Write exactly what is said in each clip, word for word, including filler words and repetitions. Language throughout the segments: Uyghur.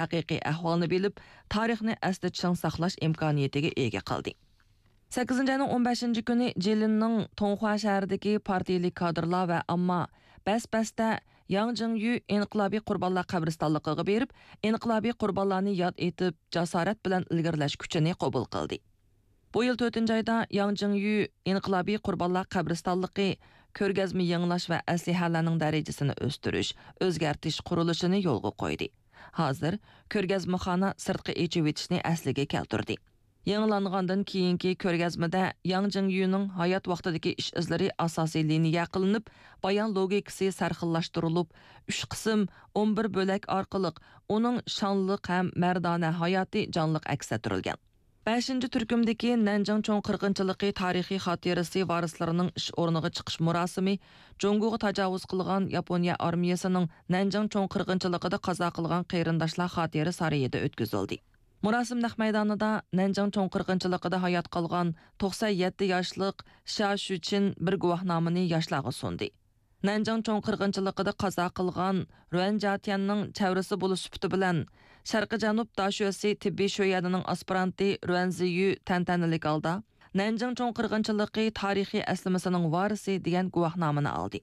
ھەقىقىي ئەھۋالنى بىلىپ، تارىخنى ئەستە چىڭ ساقلاش ئىمكانىيىتىگە ئىگە قىلدى. سەككىزىنچى ئاينىڭ ئون بەشىنچى كۈنى جىلىننىڭ توڭخۇا شەھىرىدىكى پارتىيىلىك كادىرلار ۋە ئامما بەس-بەستە ياڭ جىڭيۈ ئىنقىلابىي قۇربانلار قەبرىستانلىقىغا بېرىپ، ئىنقىلابىي قۇربانلارنى ياد ئېتىپ، جاسارەت بىلەن ئىلگىرىلەش كۈچىنى قوبۇل قىلدى. بۇ يىل تۆتىنچى ئايدا ياڭ جىڭيۈ ئىنقىلابىي قۇربانلار قەبرىستانلىقى كۆرگەزمە يېڭىلاش ۋە ئەسلىھەلەرنىڭ دەرىجىسىنى ئۆستۈرۈش، ئۆزگەرتىش قۇرۇلۇشىنى يولغا قويدى. ھازىر كۆرگەزمىخانا سىرتقا ئېچىۋېتىشنى ئەسلىگە كەلتۈردى. يېڭىلانغاندىن كېيىنكى كۆرگەزمىدە ياڭ جىڭيۈنىڭ ھايات ۋاقتىدىكى ئىش-ئىزلىرى ئاساسىي لىنىيە قىلىنىپ، بايان لوگىكىسى سەرخىللاشتۇرۇلۇپ، ئۈچ قىسىم، ئون بىر بۆلەك ئارقىلىق ئۇنىڭ شانلىق ھەم مەردانە ھاياتى جانلىق ئەكس ئەتتۈرۈلگەن. بەشىنچى تۈركۈمدىكى نەنجىڭ چوڭ قىرغىنچىلىقى تارىخىي خاتىرىسى ۋارىسلىرىنىڭ ئىش ئورنىغا چىقىش مۇراسىمى جۇڭگوغا تاجاۋۇز قىلغان ياپونىيە ئارمىيەسىنىڭ نەنجىڭ چوڭ قىرغىنچىلىقىدا قازا قىلغان قېرىنداشلار خاتىرە سارىيىدا ئۆتكۈزۈلدى. مۇراسىم نەق مەيدانىدا نەنجىڭ چوڭ قىرغىنچىلىقىدا ھايات قالغان توقسەن يەتتە ياشلىق شيا شۈچىن بىر گۇۋاھنامىنى ياشلارغا سۇندى. نەنجىڭ چوڭ قىرغىنچىلىقىدا قازا قىلغان رۇەن جياتيەننىڭ چەۋرىسى بولۇش سۈپىتى بىلەن، شەرقىي جەنۇب داشۆسى تېببىي شۆيەنىنىڭ ئاسپىرانتى رۇەن زىيۈ تەنتەنىلىك ھالدا نەنجىڭ چوڭ قىرغىنچىلىقى تارىخىي ئەسلىمىسىنىڭ ۋارىسى دېگەن گۇۋاھنامىنى ئالدى.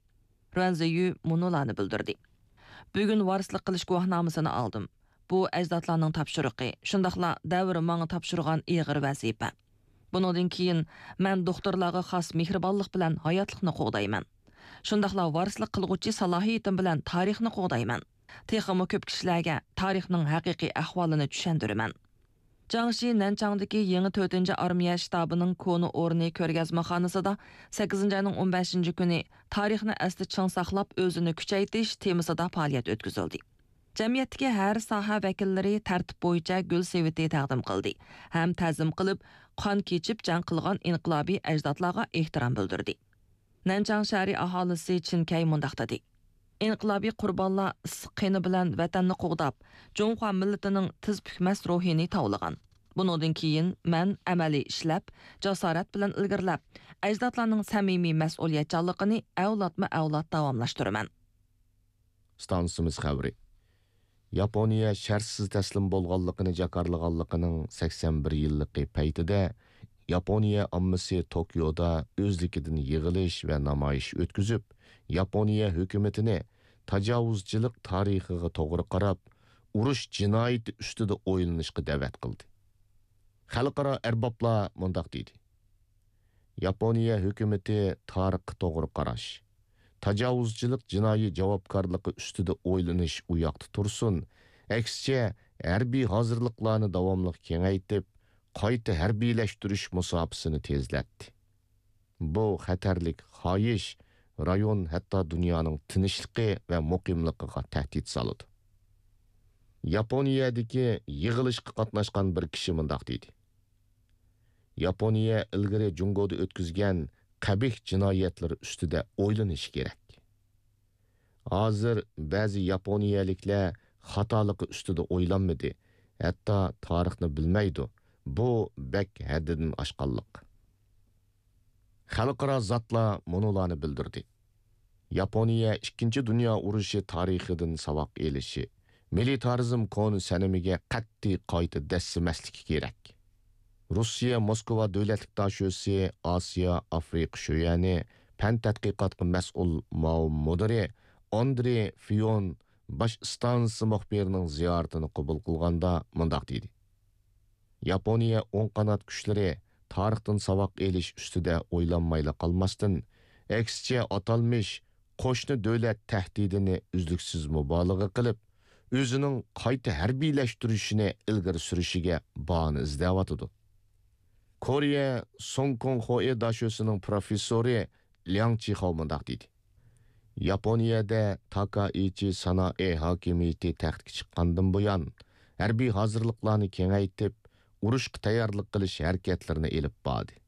رۇەن زىيۈ مۇنۇلارنى بىلدۈردى: بۈگۈن ۋارىسلىق قىلىش گۇۋاھنامىسىنى ئالدىم. بۇ ئەجدادلارنىڭ تاپشۇرۇقى، شۇنداقلا دەۋر ماڭا تاپشۇرغان ئېغىر ۋەزىپە. بۇنىڭدىن كېيىن مەن دوختۇرلارغا خاس مېھرىبانلىق بىلەن ھاياتلىقنى قوغدايمەن. شۇنداقلا ۋارىسلىق قىلغۇچى سالاھىيىتىم بىلەن تارىخنى قوغدايمەن. تېخىمۇ كۆپ كىشىلەرگە تارىخنىڭ ھەقىقىي ئەھۋالىنى چۈشەندۈرىمەن. جاڭشى نەنچاڭدىكى يېڭى تۆتىنچى ئارمىيە شتابىنىڭ كونا ئورنى كۆرگەزمىخانىسىدا سەككىزىنچى ئاينىڭ ئون بەشىنچى كۈنى تارىخنى ئەستە چىڭ ساقلاپ، ئۆزىنى كۈچەيتىش تېمىسىدا پائالىيەت ئۆتكۈزۈلدى. جەمئىيەتتىكى ھەر ساھە ۋەكىللىرى تەرتىپ بويىچە گۈل سېۋىتى تەقدىم قىلدى ھەم تەزىم قىلىپ، قان كېچىپ جەڭ قىلغان ئىنقىلابىي ئەجدادلارغا ئېھتىرام بىلدۈردى. نەنچاڭ شەھىرى ئاھالىسى چىن كەي مۇنداق دېدى: ئىنقىلابىي قۇربانلار ئىسسىق قېنى بىلەن ۋەتەننى قوغداپ، جۇڭخۇا مىللىتىنىڭ تىز پۈكمەس روھىنى تاۋلىغان. بۇنىڭدىن كېيىن مەن ئەمەلىي ئىشلەپ، جاسارەت بىلەن ئىلگىرىلەپ، ئەجدادلارنىڭ سەمىمىي مەسئۇلىيەتچانلىقىنى ئەۋلادمۇ ئەۋلاد داۋاملاشتۇرىمەن. ئىستانسىمىز خەۋىرى. ياپونىيە شەرتسىز تەسلىم بولغانلىقىنى جاكارلىغانلىقىنىڭ سەكسەن بىر يىللىقى پەيتىدە، ياپونىيە ئاممىسى توكيودا ئۆزلۈكىدىن يىغىلىش ۋە نامايىش ئۆتكۈزۈپ، ياپونىيە ھۆكۈمىتىنى تاجاۋۇزچىلىق تارىخىغا توغرا قاراپ، ئۇرۇش جىنايىتى ئۈستىدە ئويلىنىشقا دەۋەت قىلدى. خەلقئارا ئەربابلار مۇنداق دېدى: ياپونىيە ھۆكۈمىتى تارىخقا توغرا قاراش، تاجاۋۇزچىلىق جىنايى جاۋابكارلىقى ئۈستىدە ئويلىنىش ئۇ ياقتا تۇرسۇن، ئەكسىچە، ھەربىي ھازىرلىقلارنى داۋاملىق كېڭەيتىپ، قايتا ھەربىيلەشتۈرۈش مۇساپىسىنى تېزلەتتى. بۇ خەتەرلىك خاھىش رايون، ھەتتا دۇنيانىڭ تىنچلىقى ۋە مۇقىملىقىغا تەھدىت سالىدۇ. ياپونىيەدىكى يىغىلىشقا قاتناشقان بىر كىشى مۇنداق دېدى: ياپونىيە ئىلگىرى جۇڭگودا ئۆتكۈزگەن قەبىھ جىنايەتلىرى ئۈستىدە ئويلىنىشى كېرەك. ھازىر بەزى ياپونىيەلىكلەر خاتالىقى ئۈستىدە ئويلانمىدى، ھەتتا تارىخنى بىلمەيدۇ. بۇ بەك ھەددىدىن ئاشقانلىق. خەلقئارا زاتلار مۇنۇلارنى بىلدۈردى: ياپونىيە ئىككىنچى دۇنيا ئۇرۇشى تارىخىدىن ساۋاق ئېلىشى، مىلىتارىزم كونا سەنىمىگە قەتئىي قايتا دەسسىمەسلىكى كېرەك. روسىيە موسكۋا دۆلەتلىك داشۆسى ئاسىيا ئافرىقا شۆيەنى پەن تەتقىقاتقا مەسئۇل ماۋ مۇدىرى ئاندرې فىيون باش ئىستانسا مۇخبىرىنىڭ زىيارىتىنى قوبۇل قىلغاندا مۇنداق دېدى: ياپونىيە ئوڭ قانات كۈچلىرى تارىختىن ساۋاق ئېلىش ئۈستىدە ئويلانمايلا قالماستىن، ئەكسىچە، ئاتالمىش قوشنا دۆلەت تەھدىتىنى ئۈزلۈكسىز مۇبالىغە قىلىپ، ئۆزىنىڭ قايتا ھەربىيلەشتۈرۈشىنى ئىلگىرى سۈرۈشىگە باھانە ئىزدەۋاتىدۇ. كورېيە سۇڭكۇڭخوئې داشۆسىنىڭ پروفېسسورى لياڭ چىخاۋ مۇنداق دېدى: ياپونىيەدە تاكائىچى سانائې ھاكىمىيىتى تەختكە چىققاندىن بۇيان، ھەربىي ھازىرلىقلارنى كېڭەيتىپ، ئۇرۇشقا تەييارلىق قىلىش ھەرىكەتلىرىنى ئېلىپ باردى.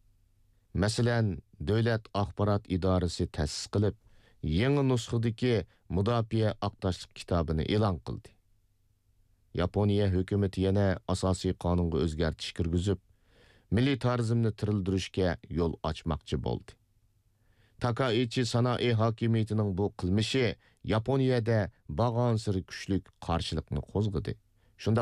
مەسىلەن، دۆلەت ئاخبارات ئىدارىسى تەسىس قىلىپ، يېڭى نۇسخىدىكى مۇداپىئە ئاق تاشلىق كىتابىنى ئېلان قىلدى. ياپونىيە ھۆكۈمىتى يەنە ئاساسىي قانۇنغا ئۆزگەرتىش كىرگۈزۈپ، مىلىتارىزمنى تىرىلدۈرۈشكە يول ئاچماقچى بولدى. تاكائىچى سانائې ھاكىمىيىتىنىڭ بۇ قىلمىشى ياپونىيەدە بارغانسېرى كۈچلۈك قارشىلىقنى قوزغىدى. شۇنداق